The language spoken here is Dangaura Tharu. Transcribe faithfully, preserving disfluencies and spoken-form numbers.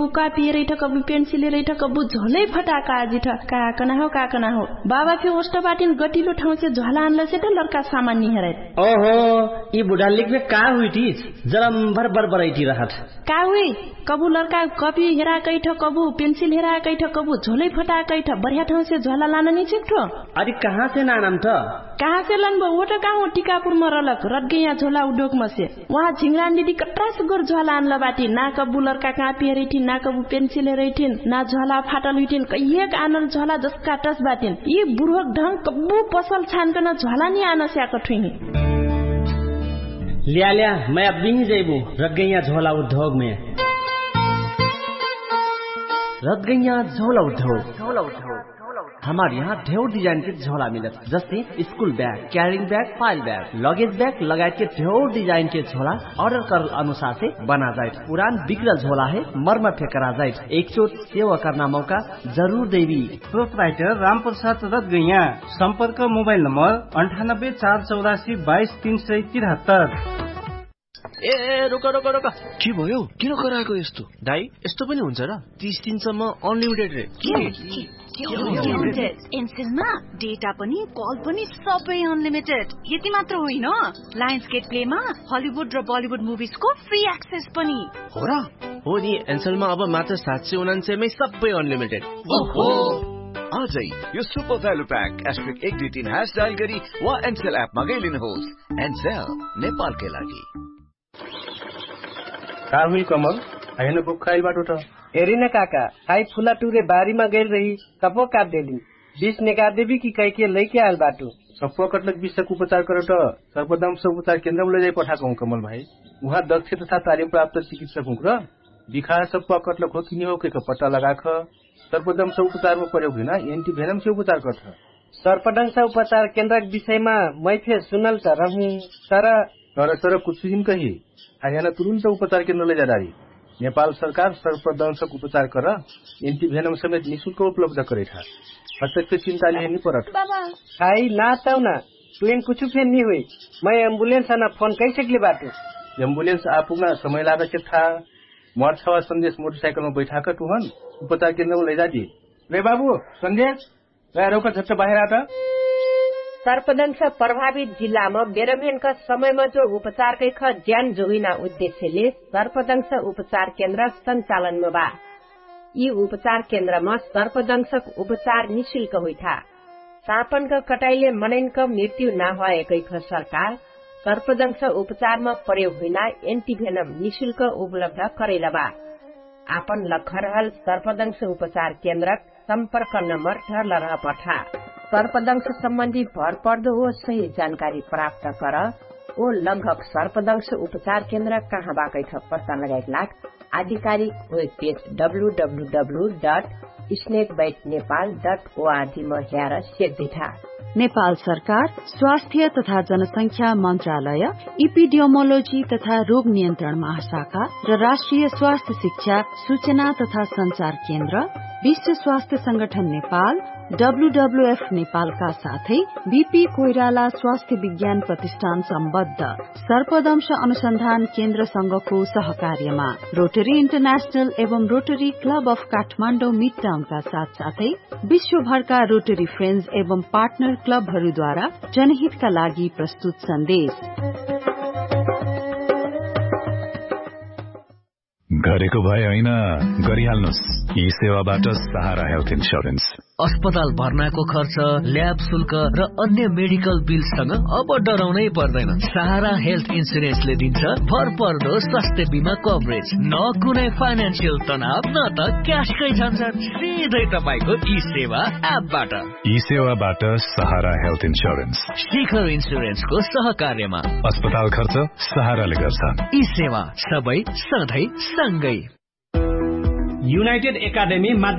कबु कापी हेरैठ कबु पेन्सिल हेरैठ कबु झोलै फटाका आजिठ। का कनाहो का कनाहो। बाबा फे ओष्ट बाटिन गटिलो ठाउँसे झोला आनलसे त लर्का सामान निहेरैठ। ओहो, यि बुढालिक फे का हुइटिस? जरम्भर बरबरैठि रहठ। का हुइ? कबु लर्का कपी हेराकैठ कबु पेन्सिल हेराकैठ कबु झोलै फटाकैठ बढ्या ठाउँसे झोला लाननि चिक्ठो। अरि कहाँसे नानम त? कहाँसे लन्बो ओट काहो टिकापुर मरलक रटगैया झोला उढोक मसे। उहाँ झिङ्रान दिदी कट्रास गोर झ्वाला आनल बाटी ना कब्बु लर्का कापी हेरैठिन ना कब्बु पेन्सिल हेरैठिन ना झ्वाला फाटल हुइठिन कैहेक आनल झ्वाला जस्का टस बाटिन। यि बुढोक ढङ्ग कब्बु पसल छानकन झ्वाला नि आनस्याक ठुइही। ल्याल्या, मै अब्बिही जैबु रगैया झ्वाला उद्योग मे। रगैया झ्वाला उद्योग। हमार यहाँ ढेउर डिजाइन के झोला मिलत, जस्ते school bag, carrying bag, pile bag, luggage bag लगायत के ढेउर डिजाइन के झोला अर्डर करल अनुसार से बना जाइत। पुरान बिग्रल झोला हे मर्मर फेकरा जाइत। एकचोट सेवा कर्ना मौका जरुर देवी। प्रोपराइटर रामप्रसाद रत गैया। सम्पर्क मोबाइल नम्बर अन्ठानब्बे चार चौरासी बाइस तीन सय तिरहत्तर। ए, रुक रुक रुक। के भयो? किन कराएको यस्तो? दाइ, यस्तो पनि हुन्छ र? तीस दिनसम्म अनलिमिटेड रे। के? एन्सेलमा डेटा पनि कल पनि सबै अनलिमिटेड। यति मात्र होइन, लायन्स गेट प्लेमा हलिउड र बलिउड मुभिजको फ्री एक्सेस पनि। हो र? हो नि, एन्सेलमा अब मात्र सात सय उनान्सयमै सबै अनलिमिटेड। ओहो। आजै यो सुपर भ्यालु प्याक एस्ट्रिक एक दुई तीन ह्यास डायल गरी वा एन्सेल एपमा गइलिनुहोस्। एन्सेल, नेपालकै लागि। का हुइल कमल? आइन भुक्खाइल बाटो त। हेरिन काका, खाइ फुला टुरे बारीमा गइल रही, सपो काट देली। बिस नेका देबी कि कैके लैके आल बाटो। सपो कटलक बिसक उपचार करत सर्पदंश उपचार केन्द्रमा लैजाइ पठाकहु कमल भाइ। उहाँ दक्ष तथा तालिम प्राप्त चिकित्सक हुँक्र बिखार सपो कटलक हो किनिहो कैक पट्टा लगाख। सर्पदंश उपचारमा प्रयोग हुइना एन्टिभेनमसे उपचार करत। सर्पदंश उपचार केन्द्रक विषयमा मैफे सुनल त रहु, तर तर तर कुछु हिन कही। हरियाना तुरुन्त उपचार केन्द्र लैजाडारी। नेपाल सरकार सर्पदंशक उपचार कर एन्टिभेनम समेत निशुल्क उपलब्ध करैठा। हतक चिन्ता लिहे नि परत। बाबा, खाइ ना तौना। तुइन कुछु फेन नि हुइ। मै एम्बुलेन्स अना फोन कैसक्ले बाटु। एम्बुलेन्स आपुग्ना समय लाग चेक था। मर्छवा सन्देश मोटरसाइकलमा बैठाक टुहन उपचार केन्द्रमा लैजादी। रे बाबु, सन्देश, रे रौका झट्ट बाहेर आत। सर्पदंश प्रभावित जिल्लामा बेरमेनका समयमा जो उपचारकै ख ज्यान जोगिना उद्देश्यले सर्पदंश उपचार केन्द्र सञ्चालनमा बा। यि उपचार केन्द्रमा सर्पदंशक उपचार निशुल्क हुइठा। सापनक कटाइले मनैनक मृत्यु नाहुवाएकैख सरकार सर्पदंश उपचारमा प्रयोग हुइना एन्टिभेनम निशुल्क उपलब्ध करैलबा। आपन लखरहल सर्पदंश उपचार केन्द्रक सम्पर्क नम्बर ढर्ल रहपठा। सर्पदंश सम्बन्धी भरपर्दो ओ सही जानकारी प्राप्त कर। ओ लङ्घक सर्पदंश उपचार केन्द्र कहाँ बाकैख पत्ता लगाइक लाग आधिकारिक web page W W W dot snake bite Nepal dot ORG म ह्यार सेक दिठा। नेपाल सरकार स्वास्थ्य तथा जनसंख्या मन्त्रालय, इपिडियोमोलोजी तथा रोग नियन्त्रण महाशाखा र राष्ट्रिय स्वास्थ्य शिक्षा सुचना तथा सञ्चार केन्द्र, विश्व स्वास्थ्य संगठन नेपाल, डब्लुडब्लुएफ नेपालका साथै बिपी कोइराला स्वास्थ्य विज्ञान प्रतिष्ठान सम्बद्ध सर्पदंश अनुसन्धान केन्द्रसँगको सहकार्यमा रोटरी इन्टरनेशनल एवं रोटरी क्लब अफ काठमाडौँ मिडटाउनका साथसाथै विश्वभरका रोटरी फ्रेन्ड्स एवं पार्टनर क्लबहरूद्वारा जनहितका लागि प्रस्तुत सन्देश। गरेको भए होइन, गरिहाल्नुस्। यी सेवाबाट सहारा हेल्थ इन्स्योरेन्स। अस्पताल भर्नाको खर्च, ल्याब शुल्क र अन्य मेडिकल बिलसँग अब डराउनै पर्दैन। सहारा हेल्थ इन्स्योरेन्सले दिन्छ भरपर्दो स्वास्थ्य बिमा कभरेज। न कुनै फाइनेन्सियल तनाव, न त क्यासकै झन्झट, सिधै तपाईंको ई सेवा एपबाट। ई सेवाबाट सहारा हेल्थ इन्स्योरेन्स। शिखर इन्स्योरेन्सको सहकार्यमा। अस्पताल खर्च सहाराले गर्छ। ई सेवा सबै सधैँ सँगै। युनाइटेड एकाडेमी माध्यमिक